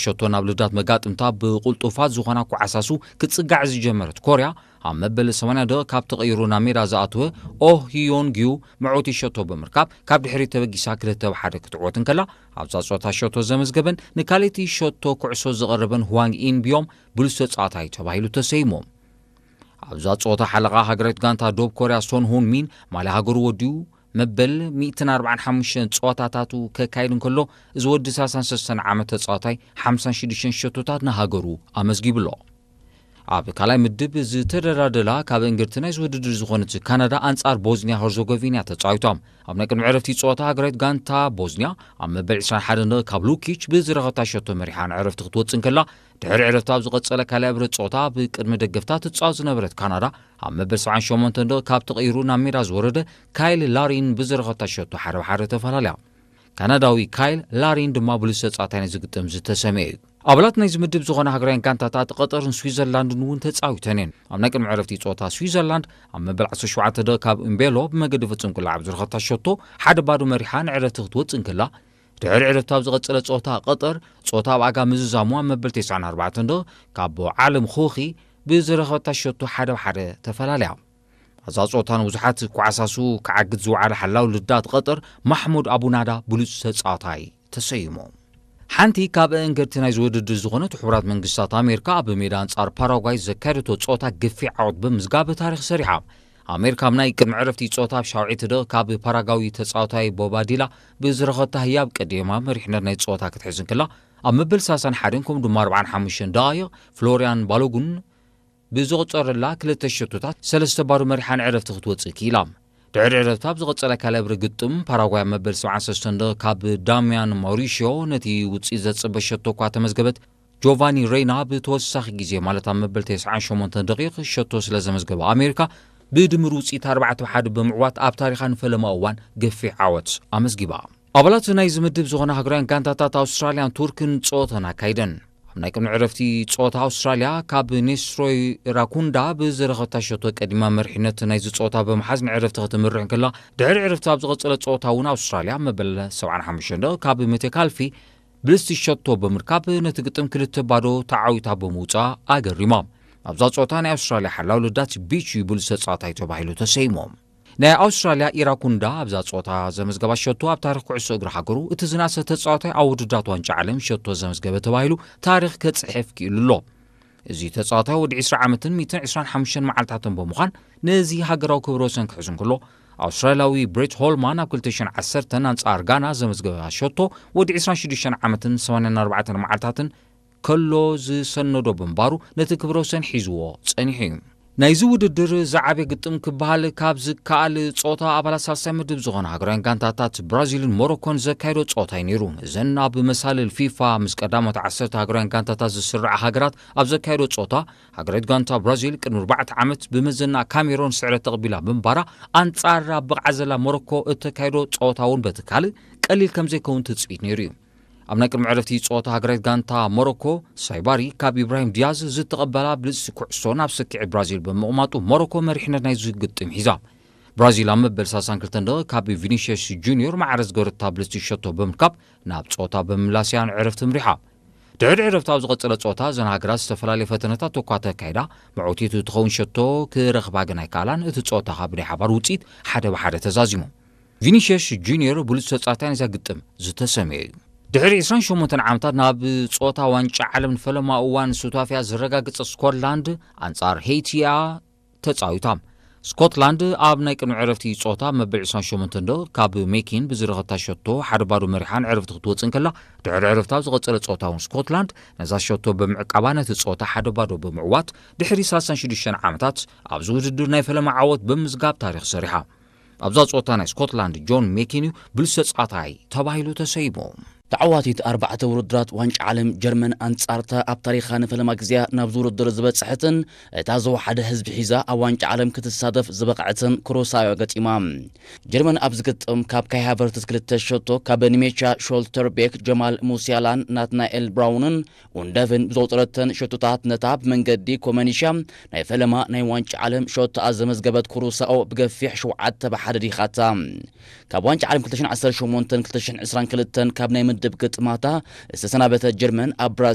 ሸቶ ናብ ልዳት መጋጥምታ ብቕልጡፋት ዝኾና ኳዕሳሱ ክትጽጋዕ ዝጀመረት ኮርያ፣ ኣብ መበል ሰማንያ ደቂቕ ካብ ተቐይሩ ናብ ሜዳ ዝኣተወ ኦህ ሂዮን ግዩ መዕወቲ ሸቶ ብምርካብ፣ ካብ ድሕሪት ተበጊሳ ክልተ ብ ሓደ ክትዕወት እንከላ፣ ኣብዛ ጸወታ ሸቶ ዘመዝገበን ንካልኣይቲ ሸቶ ኩዕሶ ዝቐረበን ህዋንግ ኢን ቢዮም ብሉጽ ተጻዋታይ ተባሂሉ ተሰይሙ። ኣብዛ ጸወታ ሓለቓ ሃገራዊት ጋንታ ዶብ ኮርያ ሶን ሁን ሚን ማልያ ሃገሩ ወዲኡ መበል ሚእትን ኣርባዓን ሓሙሽተን ጸወታታቱ ከካይድ እንከሎ፣ እዚ ወዲ ሰላሳን ሰለስተን ዓመት ተጻዋታይ ሓምሳን ሽዱሽተን ሸቶታት ንሃገሩ ኣመዝጊቡ ኣሎ። ኣብ ካልኣይ ምድብ ዝተደላደላ ካብ እንግርቲ ናይዚ ውድድር ዝኾነት ካናዳ ኣንጻር ቦዝኒያ ሆርዞጎቪና ተጻዊቶም። ኣብ ናይ ቅድሚ ዕረፍቲ ጸወታ ሃገራዊት ጋንታ ቦዝኒያ ኣብ መበል ዕስራን ሓደን ደቂቕ ካብ ሉኪች ብዝረኸታ ሸቶ መሪሓ ንዕረፍቲ ክትወጽእ እንከላ፣ ድሕሪ ዕረፍቲ ኣብ ዝቐጸለ ካልኣይ ብረት ጸወታ ብቅድሚ ደገፍታ ትጻወት ዝነበረት ካናዳ ኣብ መበል ሰብዓን ሸሞንተን ደቂቕ ካብ ተቐይሩ ናብ ሜዳ ዝወረደ ካይል ላሪን ብዝረኸታ ሸቶ ሓደ ብ ሓደ ተፈላለያ። ካናዳዊ ካይል ላሪን ድማ ብሉጽ ተጻዋታይ ናይዚ ግጥም ዝተሰምየ እዩ። ኣባላት ናይዚ ምድብ ዝኾና ሃገራውያን ጋንታታት ቀጠርን ስዊዘርላንድን እውን ተጻዊተን እየን። ኣብ ናይ ቅድሚ ዕረፍቲ ጸወታ ስዊዘርላንድ ኣብ መበል ዓሰርተ ሸውዓተ ደቂቕ ካብ እምቤሎ ብመገዲ ፍጹም ቅላዕ ኣብ ዝረኸታ ሸቶ ሓደ ባዶ መሪሓ ንዕረፍቲ ክትወጽእ እንከላ፣ ድሕሪ ዕረፍቲ ኣብ ዝቐጸለ ጸወታ ቀጠር ጸወታ ኣብ ኣጋ ምዝዛሙ ኣብ መበል ተስዓን ኣርባዕተን ደቂቕ ካብ ዓለም ኾኺ ብዝረኸበታ ሸቶ ሓደ ብ ሓደ ተፈላለያ። ኣብዛ ጸወታ ንብዙሓት ኳዕሳሱ ክዓግት ዝወዓለ ሓላው ልዳት ቀጠር ማሕሙድ ኣቡናዳ ብሉጽ ተጻዋታይ ተሰይሙ። ሓንቲ ካብ እንግርቲ ናይዚ ውድድር ዝኾነት ሕቡራት መንግስታት ኣሜሪካ ኣብ ሜዳ ኣንጻር ፓራጓይ ዘካየደቶ ጸወታ ገፊሕ ዓወት ብምዝጋብ ታሪኽ ሰሪሓ። ኣሜሪካ ኣብ ናይ ቅድሚ ዕረፍቲ ጸወታ ኣብ ሻውዒት ደቂቕ ካብ ፓራጓዊ ተጻዋታይ ቦባዲላ ብዝረኸታ ህያብ ቀዲማ መሪሕነት ናይ ጸወታ ክትሕዝ እንከላ፣ ኣብ መበል ሰላሳን ሓደን ከምኡ ድማ ኣርባዓን ሓሙሽተን ደቓይቕ ፍሎርያን ባሎጉን ብዘቑጸረላ ክልተ ሸቶታት ሰለስተ ባዶ መሪሓ ንዕረፍቲ ክትወጽእ ክኢላ። ድሕሪ ዕረፍቲ ኣብ ዝቐጸለ ካልኣይ ብረት ግጥም ፓራጓይ ኣብ መበል ሰብዓን ሰለስተን ደቂቕ ካብ ዳሚያን ማውሪሽዮ ነቲ ውጽኢት ዘጽበ ሸቶ እኳ ተመዝገበት፣ ጆቫኒ ሬይና ብተወሳኺ ግዜ ማለት ኣብ መበል ተስዓን ሸሞንተን ደቂቕ ሸቶ ስለ ዘመዝገበ ኣሜሪካ ብድምር ውጽኢት ኣርባዕተ ብ ሓደ ብምዕዋት ኣብ ታሪኻ ንፈለማ እዋን ገፊሕ ዓወት ኣመዝጊባ። ኣባላት ናይዚ ምድብ ዝኾና ሃገራውያን ጋንታታት ኣውስትራልያን ቱርክን ጸወተን ኣካይደን። ኣብ ናይ ቅድሚ ዕረፍቲ ጸወታ ኣውስትራልያ ካብ ኔስሮይ ራኩንዳ ብዝረኸታ ሸቶ ቀዲማ መሪሕነት ናይዚ ጸወታ ብምሓዝ ንዕረፍቲ ክትምርሕ እንከላ፣ ድሕሪ ዕረፍቲ ኣብ ዝቐጸለ ጸወታ እውን ኣውስትራልያ መበል ሰብዓን ሓሙሽተን ደቂቕ ካብ ሜቴካልፊ ብልስቲ ሸቶ ብምርካብ ነቲ ግጥም ክልተ ባዶ ተዓዊታ ብምውጻእ ኣገሪማ። ኣብዛ ጸወታ ናይ ኣውስትራልያ ሓላው ልዳት ቢች ብሉጽ ተጻዋታይ ተባሂሉ ተሰይሙ። ናይ ኣውስትራልያ ኢራኩንዳ ኣብዛ ጸወታ ዘመዝገባ ሸቶ ኣብ ታሪኽ ኩዕሶ እግሪ ሃገሩ እቲ ዝነኣሰ ተጻዋታይ ኣብ ውድድራት ዋንጫ ዓለም ሸቶ ዘመዝገበ ተባሂሉ ታሪኽ ከጽሕፍ ክኢሉ ኣሎ። እዚ ተጻዋታይ ወዲ ዕስራ ዓመትን ሚእትን ዕስራን ሓሙሽተን መዓልታትን ብምዃን ነዚ ሃገራዊ ክብረ ወሰን ክሕዝ እንከሎ፣ ኣውስትራልያዊ ብሬት ሆልማን ኣብ ክልተ ሽሕን ዓሰርተን ኣንጻር ጋና ዘመዝገበ ሸቶ ወዲ ዕስራን ሽዱሽተን ዓመትን ሰማንያን ኣርባዕተን መዓልታትን ከሎ ዝሰነዶ ብምንባሩ ነቲ ክብረ ወሰን ሒዝዎ ጸኒሑ እዩ። ናይዚ ውድድር ዝዓበየ ግጥም ክበሃል ካብ ዝከኣል ጸወታ ኣባላት ሳልሳይ ምድብ ዝኾና ሃገራውያን ጋንታታት ብራዚልን ሞሮኮን ዘካየዶ ጸወታ እዩ ነይሩ። እዘን ኣብ መሳልል ፊፋ ምስ ቀዳሞት ዓሰርተ ሃገራውያን ጋንታታት ዝስርዓ ሃገራት ኣብ ዘካየዶ ጸወታ፣ ሃገራዊት ጋንታ ብራዚል ቅድሚ ኣርባዕተ ዓመት ብመዘና ካሜሮን ስዕረት ተቐቢላ ብምንባራ፣ ኣንጻር ኣብ ብቕዓት ዘላ ሞሮኮ እተካየዶ ጸወታ እውን በቲ ካልእ ቀሊል ከም ዘይከውን ትጽቢት ነይሩ እዩ። ኣብ ናይ ቅድሚ ዕረፍቲ ጸወታ ሃገራዊት ጋንታ ሞሮኮ ሳይባሪ ካብ ኢብራሂም ዲያዝ ዝተቐበላ ብልጽቲ ኩዕሶ ናብ ስክዒ ብራዚል ብምቕማጡ ሞሮኮ መሪሕነት ናይዚ ግጥም ሒዛ። ብራዚል ኣብ መበል ሰላሳን ክልተን ደቂቕ ካብ ቪኒሽየስ ጁኒዮር ማዕረ ዝገበረታ ብልጽቲ ሸቶ ብምርካብ ናብ ጸወታ ብምምላስ እያ ንዕረፍቲ ምሪሓ። ድሕሪ ዕረፍቲ ኣብ ዝቐጸለ ጸወታ እዘን ሃገራት ዝተፈላለየ ፈተነታት እኳ ተካይዳ፣ መዕወቲቱ ትኸውን ሸቶ ክረኽባ ግን ኣይከኣላን። እቲ ጸወታ ካብ ናይ ሓባር ውጽኢት ሓደ ብ ሓደ ተዛዚሙ። ቪኒሽየስ ጁኒዮር ብሉጽ ተጻዋታይ ናይዛ ግጥም ዝተሰምየ እዩ። ድሕሪ ዕስራን ሸሞንተን ዓመታት ናብ ጸወታ ዋንጫ ዓለም ንፈለማ እዋን ሱታፊያ ዘረጋገጸ ስኮትላንድ ኣንጻር ሄይቲ እያ ተጻዊታ። ስኮትላንድ ኣብ ናይ ቅድሚ ዕረፍቲ ጸወታ መበል ዕስራን ሸሞንተን ደቂቕ ካብ ሜኪን ብዝረኸታ ሸቶ ሓደ ባዶ መሪሓ ንዕረፍቲ ክትወጽእ እንከላ፣ ድሕሪ ዕረፍቲ ኣብ ዝቐጸለ ጸወታ እውን ስኮትላንድ ነዛ ሸቶ ብምዕቃባ ነቲ ጸወታ ሓደ ባዶ ብምዕዋት ድሕሪ ሰላሳን ሽዱሽተን ዓመታት ኣብዚ ውድድር ናይ ፈለማ ዓወት ብምዝጋብ ታሪኽ ሰሪሓ። ኣብዛ ጸወታ ናይ ስኮትላንድ ጆን ሜኪን እዩ ብሉጽ ተጻዋታይ ተባሂሉ ተሰይሙ። ተዓዋቲት ኣርባዕተ ውድድራት ዋንጫ ዓለም ጀርመን ኣንጻርታ ኣብ ታሪኻ ንፈለማ ግዜያ ናብዚ ውድድር ዝበጽሐትን እታ ዝወሓደ ህዝቢ ሒዛ ኣብ ዋንጫ ዓለም ክትሳተፍ ዝበቕዐትን ክሮሳዮ ገጢማ። ጀርመን ኣብዚ ግጥም ካብ ካይ ሃቨርትስ ክልተ ሸቶ፣ ካብ ኒሜቻ ሾልተርቤክ፣ ጀማል ሙሲያላን ናትናኤል ብራውንን ኡንደቭን ብዘውጠረተን ሸቶታት ነታ ብመንገዲ ኮመኒሻ ናይ ፈለማ ናይ ዋንጫ ዓለም ሸቶኣ ዘመዝገበት ኩሩሳኦ ብገፊሕ ሸውዓተ ብ ሓደ ዲኻታ። ካብ ዋንጫ ዓለም ክልተ ሽሕን ዓሰርተ ሸሞንተን ክልተ ሽሕን ዕስራን ክልተን ካብ ናይ ምድብ ግጥማታ ዝተሰናበተት ጀርመን ኣብ ብራዚል